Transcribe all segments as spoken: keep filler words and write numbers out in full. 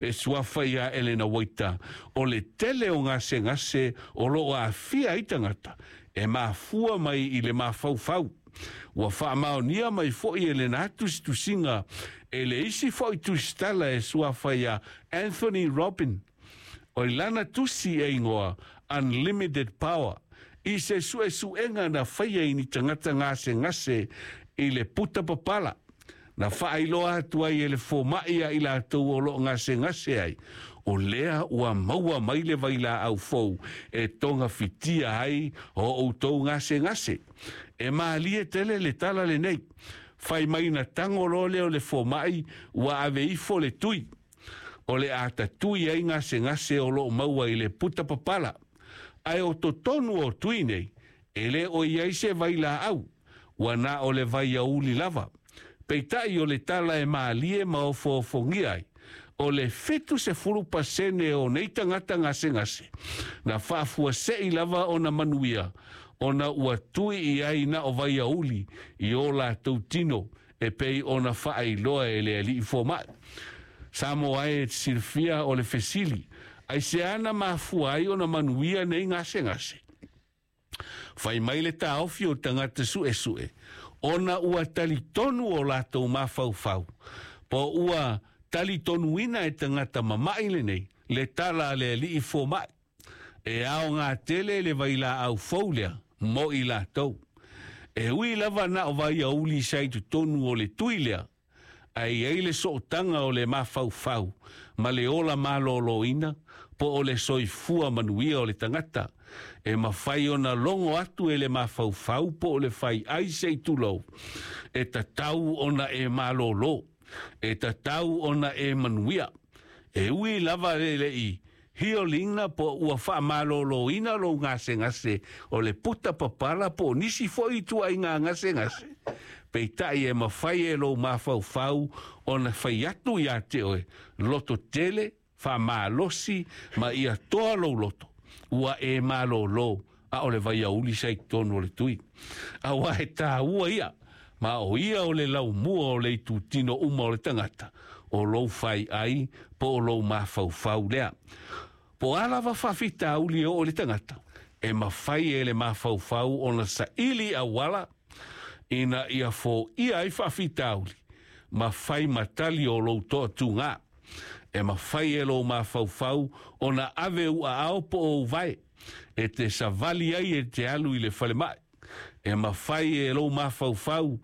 E suafa ia Elena Waita, o le tele o gasegase o loo aafia ai tagata, e mafua mai i le mafaufau. Ua faamaonia mai foi e lena tusitusiga e le isi foi tusitala e suafa ia Anthony Robin. O i lana tusi e igoa Unlimited Power, i se suesuega na faia i ni tagata gasegase i le puta papala. Na faailoa atu ai e le fomaʻi a i latou o loo gasegase ai, o lea ua maua mai le vailaau fou e togafitia ai o outou gasegase. E malie tele le tala lenei. Fai mai na tago loa lea o le fomaʻi ua ave ifo le tui. O le a tatui ai gasegase o loo maua i le puta papala. Ae o totonu o tui nei, e lē o i ai se vailaau, ua na o le vaiauli lava. Peitai o le tala e malie ma ofoofogia ai, o le fitu sefulu pasene o nei tagata gasegase, na faafuasei lava ona manuia, ona ua tui i ai na o vaiauli i o latou tino e pei ona faailoa e le alii fomaʻi. Samoa e silafia o le fesili, aisea na mafua ai ona manuia nei gasegase? Fai mai le taofi o tagata suesue, ona ua talitonu o latou mafaufau, po ua talitonuina e tagata mamaʻi lenei le tala a le alii fomaʻi. E aoga tele le vailaau fou lea mo i latou. E ui lava na o vaiauli sa i totonu o le tui lea, ae i ai le sootaga o le mafaufau ma le ola malōlōina po o le soifua manuia o le tagata. E mafai ona logo atu e le mafaufau po o le fai ai se i tulou, e tatau ona e malōlō, e tatau ona e manuia. E ui lava le lei hiolina po ua faamalōlōina lou gasegase o le puta papala po o nisi foi ituaiga gasegase. Peitai e mafai e lou mafaufau ona fai atu iā te oe, loto tele, faamalosi ma ia toa lou loto, ua e malōlō, a o le vaiauli sa i totonu o le tui. Auā e tāua ia, ma o ia o le laumua o le itutino uma o le tagata, o lou fai ai po o lou mafaufau lea. Po o a lava faafitauli e oo i le tagata, e mafai e le mafaufau ona saili auala ina ia foia ai faafitauli, ma fai ma tali o lou toatugā. E mafai e lou mafaufau ona ave ou aao po o ou vae, e te savali ai e te alu i le falemaʻi. E mafai e lou mafaufau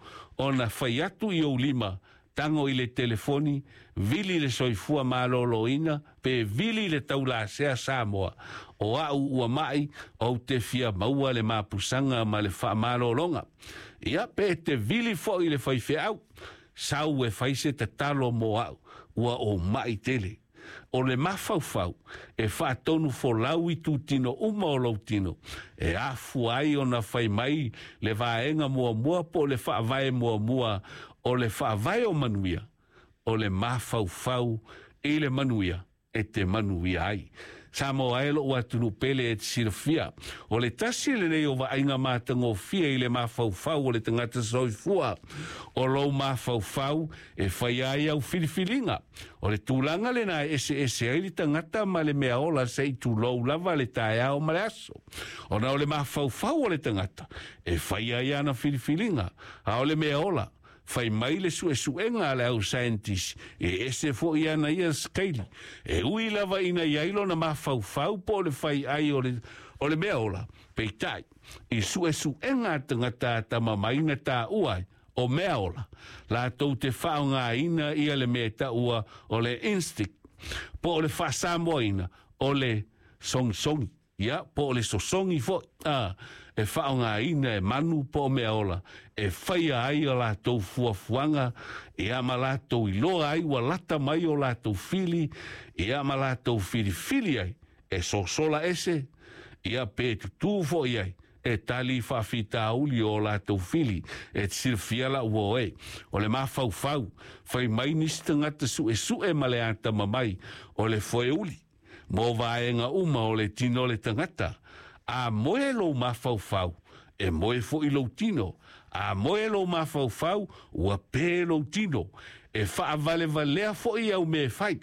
ona fai atu i ou lima, tago i le telefoni, vili le soifua malōlōina, pe vili le taulasea Samoa. O au ua maʻi, ou te fia maua le mapusaga ma le faamalōloga. Ia, pe e te vili foi i le faifeau, sau e fai se tatalo mo au, ua ou maʻi tele. O le mafaufau e faatonu folau itutino uma o lou tino, e afua ai ona fai mai le vaega muamua po o le faavae muamua o le faavae o manuia, o le mafaufau i le manuia e te manuia ai. Samoa e lou atunuu pele e te silafia, o le tasi lenei o vaaiga matagofie i le mafaufau o le tagata soifua. O lou mafaufau e faia ai au filifiliga. O le tulaga lena e eseese ai le tagata ma le mea ola se i tulou lava le taeao ma le aso. Ona o le mafaufau o le tagata e faia ai ana filifiliga, a o le mea ola, fai mai le suesuega a le au scientist e ese foi ana ia skeili. E ui lava ina i ai lona mafaufau po o le fai ai o le, o le mea ola. Peitai, i suesuega a tagata atamamai na taua ai, o mea ola, latou te faaaogaina ia le mea e taua o le instinct, po o le faasamoaina o le sogisogi. Ia, po o le sosogi foi, a, e faaaogaina e manu po o mea ola, e faia ai o latou fuafuaga, ia ma latou iloa ai ua lata mai o latou fili, ia ma latou filifili ai, e sosola ese, ia pe tutū foi ai, e tali faafitauli o latou fili, e te silafia lau uo e. O le mafaufau, fai mai nisi tagata suesue ma le atamamai, o le foeuli, mo vaega uma o le tino o le tagata. A moe lou mafaufau, e moe foi lou tino. A moe lou mafaufau, ua pē lou tino. E faavalevalea foi au mea e fai.